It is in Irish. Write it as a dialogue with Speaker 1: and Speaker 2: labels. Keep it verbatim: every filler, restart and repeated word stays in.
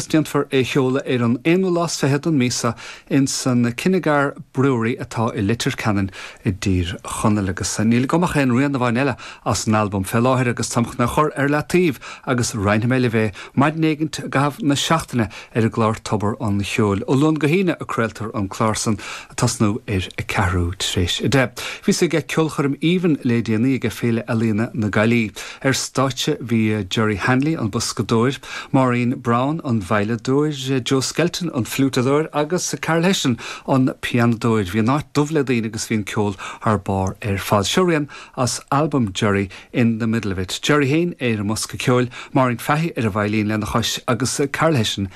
Speaker 1: déanfar é sheoladh ar an aonú lá is fiche den mhí seo in san Kinnegar Brewery atá i Leitir Ceanainn i dTír Chonaill agus níl agam ach aon rian amháin eile as an albam fé láthair agus táim chun é a chur ar leataobh agus roinnfidh mé libh é maidin éigin i gcaitheamh na seachtaine ar an gclár Tobar an Cheoil. Ó Luan go hAoine a craoltar an clár san ag tosnú ar a ceathrú tar éis a deich. Bhíos ag ceolchoirm aoibhinn le déanaí ag Féile Ealaíona na Gaillimhe. Ar stáitse bhí Jerry Hanley an boscadóir, Maureen Brown an veidhleadóir, Joe Skelton an fliútadóir agus Carol Hession an pianadóir. Bhí an áit dubh le daoine agus bhí an ceol thar barr ar fad. Seo rian as album Jerry in the middle of it. Jerry féin ar an mbosca ceoil, Maureen Fahy ar an veidhlín lena chois agus Carol Hession